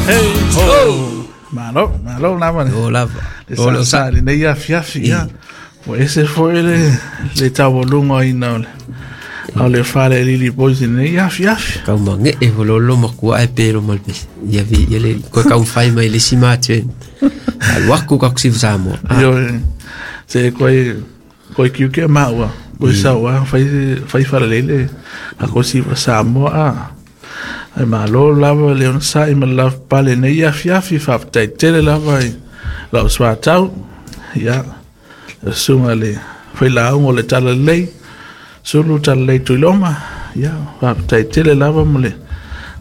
Hey ho. Malo, malo lava le. O lava. Le sa sa le nei afiafi ia. Ua ese foi le taualuga ina o le Falealili Boys i lenei afiafi. Kau mange e lolo makua e pelo mal pe. Ia vi ia le ko kau fai mai le si mate. Alu aku ka kusi Samoa. Io se koe kiu ke maua. Koe saua fai fai falalele a ko si Samoa a. Ai malo lava le onosai ma le lavapapale i lenei afiafi. Faafetai tele lava i lau soatau ia le susuga le failauga o le Talalelei Sulu Talalelei Tuiloma. Ia faafetai tele lava mo le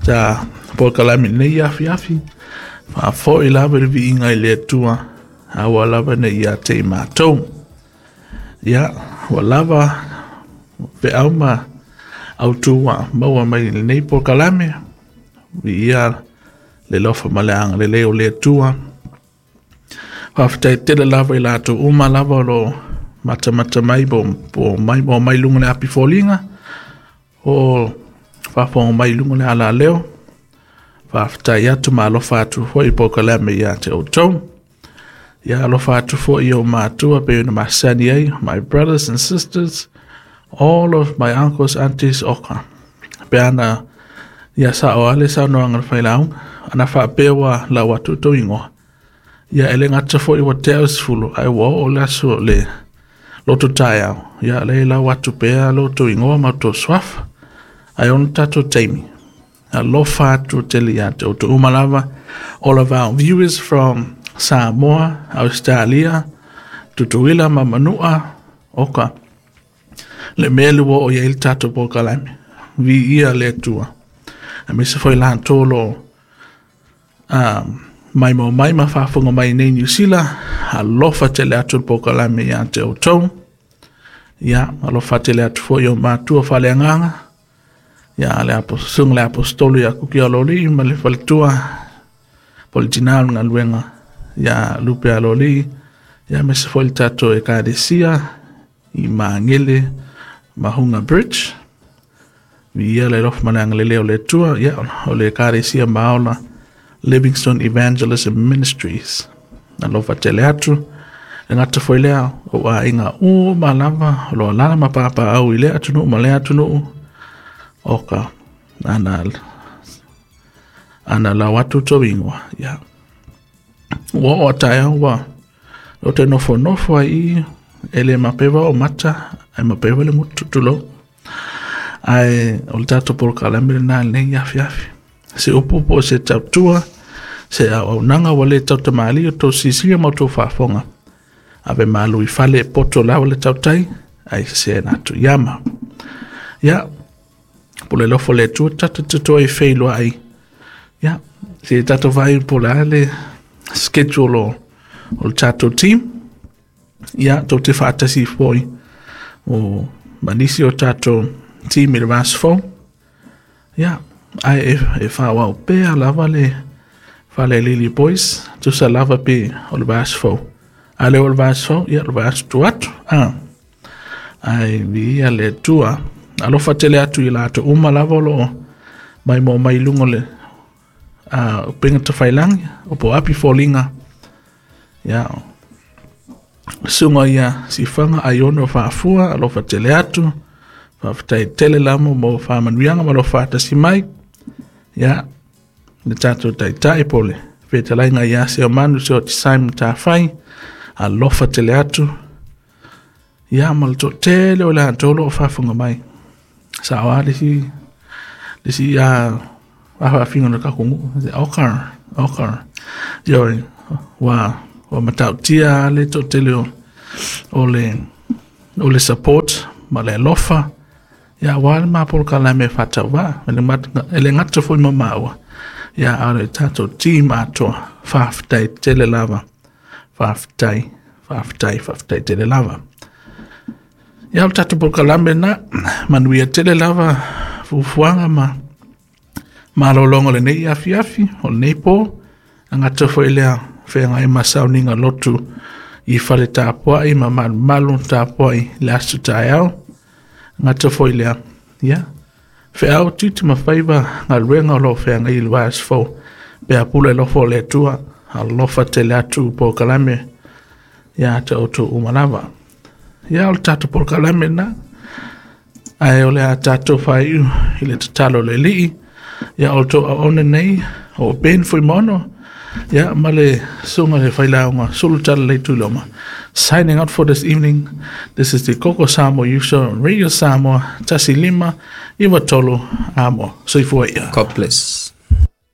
ta polokalame i lenei afiafi. Faafo'i lava i le viiga i le Atua aua lava nei ia te i matou. Ia ua lava feau ma autu ua maua mai i lenei polokalame. Viia le alofa ma le agalelei o le Atua. Faafetai tele lava i latou uma lava o lo matamata mai po mai mo mai luga le api foliga o faafofoga mai luga le alaleo. Faafetai atu ma alofa atu foi polokalame ia te outou. Ia alofa atu foi i ou matua pe ona masani ai, my brothers and sisters, all of my uncles, aunties, oka. Pe ana ia sa o ale saunoaga le failauga, ana faapea ua lau atu tou igoa. Ia e le gata foi ua tea o 10, ae ua oo le aso le loto taeao. Ia le lau atu pea lo tou igoa ma tou suafa. Ae ona tatou taimi. Alofa atu tele ia te outou uma lava. All of our viewers from Samoa, Australia, Tutuila ma Manua, oka. Le mea le ua o i ai le tatou polokalame. Viia le Atua. Aemaise foi latou lo mai mo mai ma faafofoga mai nei Niu Sila, alofa tele atu le polokalame ia te outou. Ia, alofa tele atu foi o matua faaleagaga. Ia, le susuga le apostolo ia Kuki Aloli ma le faletua po le tina o le galuega ia Lupe Aloli. Ia, aemaise foi le tatou Ekalesia i Magele Mahunga Bridge. Viia le alofa ma le agalelei o le Atua. Ia, o le Ekalesia Maola Livingstone Evangelism Ministries. Alofa tele atu. E gata foi lea o aiga uma lava o lo alala ma papaau i lea atunuu ma lea atunuu. Oka, ana lau atu tou igoa. Ia. Ua oo a taeao ua o te nofo nofo ai i e le mapewa o mata ai mapewa le gutu tulou. Ae o le tatou polokalame lena lenei afiafi. Se upu po o se tautua, se auaunaga ua le tautamali o tou sisia ma o tou faafofoga. Ave malu i fale e poto lava le tautai, ai se na atu iama. Ia, po le lofo le Atua tatou te toe feiloai. Ia, se tatou vai po le a le schedule o le tatou team. Ia, tou te faatasi foi o ma nisi o tatou team i le vaiaso fou. Ia, ae e faaauau pea lava le Falealili Boys, tusa lava pe o le vaiaso fou. A le o le vaiaso fou, ia o le vaiaso tu atu. Ah. Ai viia le Atua. Alofa tele atu i latou uma lava o lo mai mo mai luga o le upega tafailagi o po api foliga. Ia, susuga ia Sifaga Aiono Faafua, alofa tele atu. Faafetai tele lamo mo faamanuiaga ma lo faatasi mai. Ia, le tatou taitai po le fetalaiga ia Seomanu Seoti Simon Tafai, alofa tele atu. Ia, ma le toatele o latou o lo o faafofoga mai. Sao a le isi a faafinga o le kakunuu. Oka, oka. Ioe, ua matautia le toatele o le support ma le alofa. Ia, aua le ma polokalame faatauvaa. E le gata foi ma maua. Ia, a o le tatou team atoa. Faafetai tele lava. Faafetai, faafetai, faafetai tele lava. Ia, o le tatou polokalame na, manuia tele lava fuafuaga ma malologa o lenei afiafi, o lenei po, agata foi lea feagai ma sauniga lotu i fale tapuai ma malumalu tapuai le aso taeao. Gata foi lea, ia, feau tiute ma faiva galuega o lo o feagai i le vaiaso fou. Pe a pule alofa o le Atua, alofa tele atu polokalame ia te outou uma lava. Ia o le tatou polokalame lena, ae o le a tatou faaiu i le tatalo a le Alii, ia outou auauna nei o Ben Fuimaono, ia ma le susuga i le failauga Sulu Talalelei Tuiloma. Signing out for this evening. This is the Koko Samoa Youth Show on Radio Samoa, 15 93 Amoa. Soifua ia. God bless.